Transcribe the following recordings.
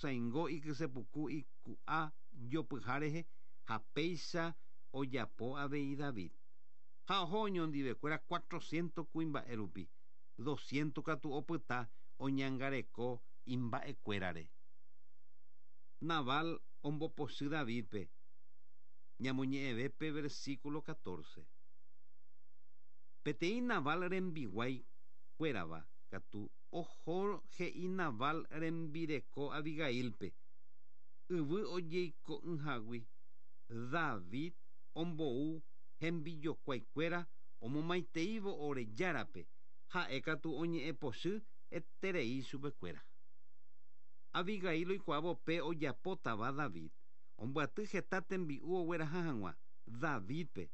Omosaingo ikysepuku iku'a jopyha rehe ha péicha ojapo avei David. Ha oho oñondivekuéra cuatrocientos kuimba'e rupi, doscientos katu opyta oñangareko imba'ekuérare. Nabal ombopochy Davídpe, ñamoñe'ẽve pe versículo catorce. Peteĩ Nabal rembiguái kuérava katu oho he'i Nabal rembireko Abigaílpe, Yvy ojeiko'ỹhagui David ombou hembijokuái kuéra omomaiteívo ore Járape, ha'e katu oñe'ẽ pochy eterei chupe kuéra. Abigail oikuaávo pe ojapótava David, ombyaty heta tembi'u ogueraha hag̃ua Davídpe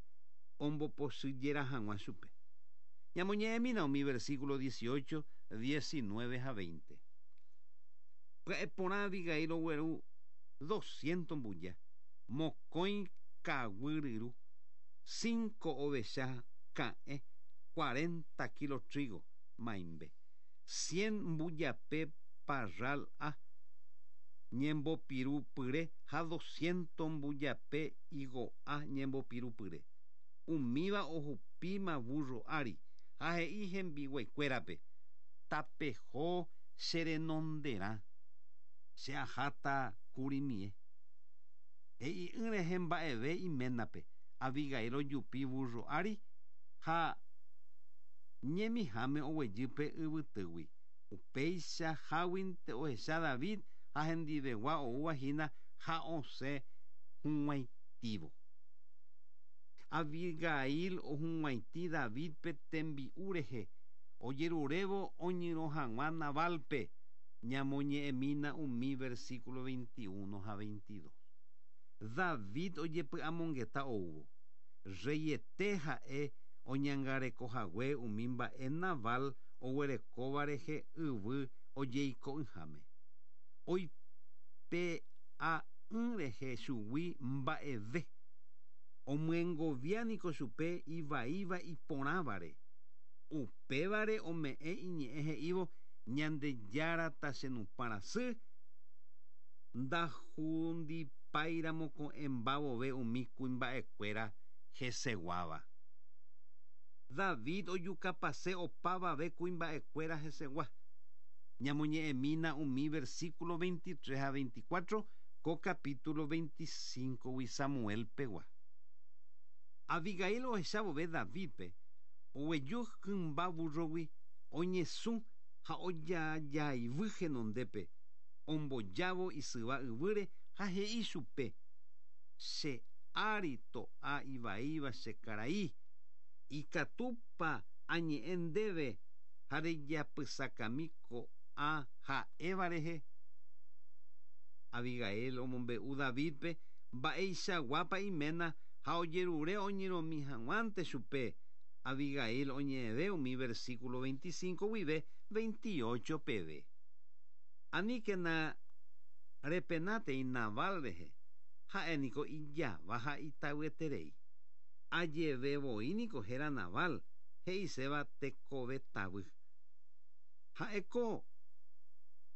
ombopochyjera hag̃ua chupe. Ñamoñe'ẽmína umi versículo 18, 19 ha 20. Pya'e porã Abigail ogueru doscientos mbuja, mokõi kaguy ryru, cinco ovecha ka'ẽ, cuarenta kilo trigo, maimbe, cien mbujape parral a ñembopiru pyre ha doscientos mbujape higo'a ñembopiru pyre. Umíva ohupíma vúrro ári ha he'i hembiguaikuérape, Tapeho che renonderã, che aháta kurimie. He'i'ỹ rehe mba'eve iménape, Abigail ojupi vúrro ári ha ñemiháme oguejy pe yvytýgui. Upéicha háguinte ohecha David ha hendivegua oúva hína ha osẽ hug̃uaitĩvo. Abigail ohug̃uaitĩ Davídpe tembi'u rehe, ojerurévo oñyrõ hag̃ua Nabálpe, ñamoñe'ẽmína umi versículo 21 ha 22. David ojepy'amongeta oúvo. Rreiete ha'e oñangarekohague umi mba'e Nabal oguerekóva rehe yvy ojeiko'ỹháme. Oipe'a'ỹ rehe chugui mba'eve. Omyengovia niko chupe ivaíva iporãvare. Upévare ome'ẽ iñe'ẽ he'ívo, Ñandejára tachenupã rasy, ndahundipáiramo ko'ẽmba vove umi kuimba'ekuéra heseguáva. David ojukapase opavave kuimba'ekuéra hesegua. Ñamoñe'ẽmína umi versículo 23 ha 24 ko capítulo 25-gui Samuel pegua. Abigail ohecha vove Davídpe, oguejy hymba vúrrogui, oñesũ ha ojajaivy henondépe, ombojávo isyva yvýre ha he'i chupe, Che ári to'a ivaíva che karai, ikatúpa añe'ẽ ndéve ha rejapysakami ko'ã ha'éva rehe? Abigail omombe'u Davídpe mba'eichaguápa iména ha ojerure oñyrõmi hag̃uánte chupe. Abigail oñe'ẽve umi versículo 25 guive 28 peve. Aníkena repenátei Nabal rehe, ha'e niko ijava ha itavyeterei. Ajeve voi niko héra Nabal, he'iséva tekove tavy. Ha'éko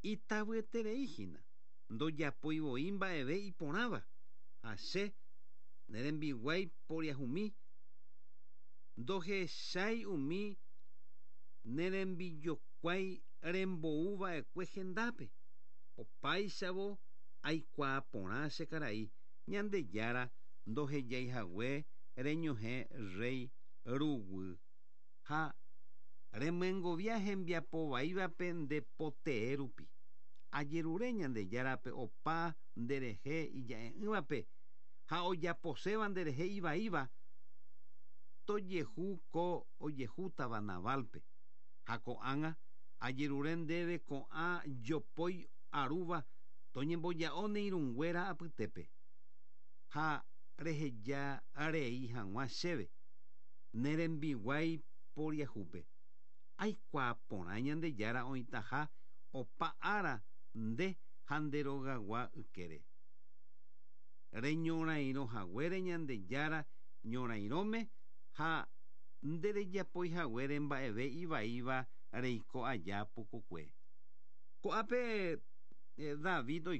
itavyeterei hína, ndojapói voi mba'eve iporãva, ha che, ne rembiguái poriahumi, ndohechái umi ne rembijokuái rembou va'ekue hendápe. Opáichavo aikuaa porã che karai, Ñandejára ndohejái hague reñohẽ rréi ruguy ha remyengovia hembiapo vaívape nde po tee rupi. Ajerure Ñandejárape opa nderehe ija'e'ỹvape ha ojaposéva nderehe ivaíva, tojehu ko ojehútava Nabálpe. Ha ko'ág̃a ajerure ndéve ko'ã jopói arúva toñemboja'o ne irũnguéra apytépe, ha reheja rei hag̃ua chéve ne rembiguái poriahúpe. Aikuaa porã Ñandejára oĩtaha opa ára nde ha nde rogagua ykére. Reñorairõ haguére Ñandejára ñorairõme ha nderejapói haguére mba'eve ivaíva reiko aja pukukue. Ko'ápe. David oiko.